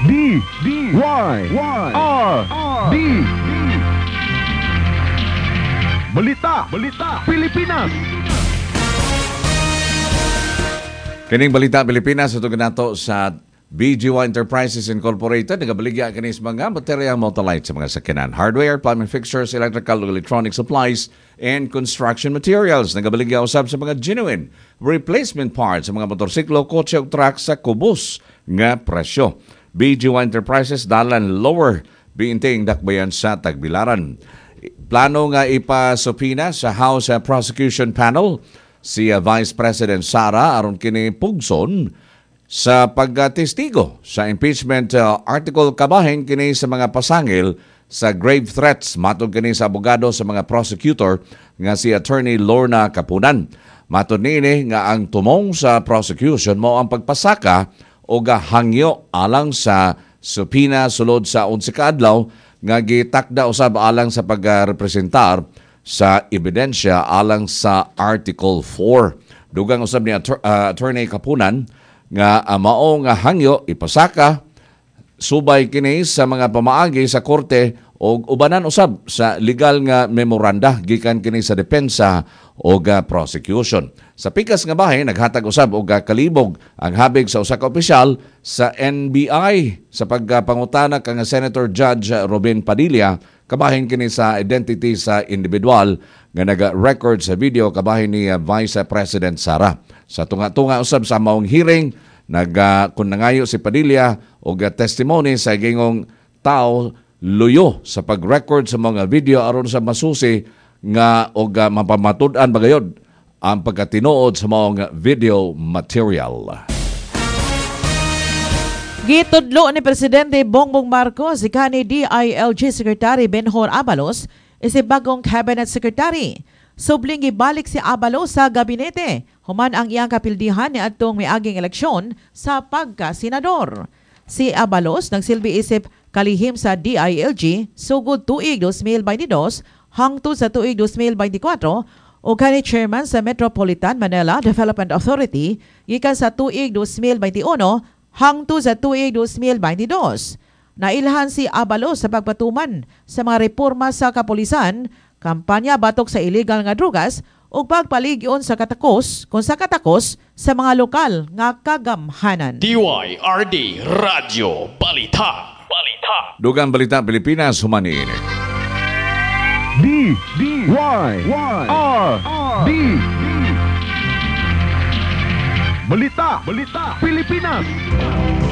D D Y Y R D D. Balita, Balita, Pilipinas. Kining Balita Pilipinas ito nato sa BGY Enterprises Incorporated. Nagabaligya kini sa mga baterya, Motolite sa mga sakyanan, hardware, plumbing fixtures, electrical ug electronic supplies, and construction materials. Nagabaligya usab sa mga genuine replacement parts sa mga motorsiklo, kotse ug truck sa kubos nga presyo. BGY Enterprises, Dalan Lower Biinting, Dakbayan sa Tagbilaran. Plano nga ipasupina sa House Prosecution Panel si Vice President Sara aron kini pugson sa pagtestigo sa impeachment article kabahin kini sa mga pasangil sa grave threats, matod kini sa abogado sa mga prosecutor nga si Attorney Lorna Kapunan. Matod niini nga ang tumong sa prosecution mao ang pagpasaka o hangyo alang sa subpoena sulod sa 11 ka adlaw nga gitakda usab alang sa pagrepresentar sa ebidensya alang sa Article 4. Dugang usab ni Attorney Kapunan nga mao nga hangyo ipasaka subay kini sa mga pamaagi sa korte o ubanan usab sa legal nga memoranda gikan kini sa depensa o prosecution. Sa pikas nga bahin, naghatag usab og kalibog ang habig sa usa ka opisyal sa NBI sa pagpangutana kang Senator Judge Robin Padilla kabahin kini sa identity sa individual nga naga-record sa video kabahin ni Vice President Sara. Sa tunga-tunga usab sa maong hearing, kun nangayo si Padilla og testimony sa gingong tao luyo sa pag-record sa mga video aron sa masusi nga og mapamatud-an bagayod ang pagkatinuod sa maong video material. Gitudlo ni Presidente Bongbong Marcos si kani DILG Secretary Benhur Abalos isip bagong Cabinet Secretary. Subling gibalik si Abalos sa gabinete human ang iyang kapildihan ni adtong miaging eleksyon sa pagka-senador. Si Abalos nagsilbi isip kalihim sa DILG sugod tuig 2022 hangtod sa tuig 2024 o kani chairman sa Metropolitan Manila Development Authority gikan sa tuig 2021 hangtod sa tuig 2022. Nailhan si Abalos sa pagpatuman sa mga reforma sa kapulisan, kampanya batok sa illegal nga drugas ug pagpaligyon sa katakos kung sa katakos sa mga lokal nga kagamhanan. DYRD Radyo Balita. Balita. Dugang Balita Pilipinas human niini. D D Y Y R D D. Balita, Balita, Pilipinas.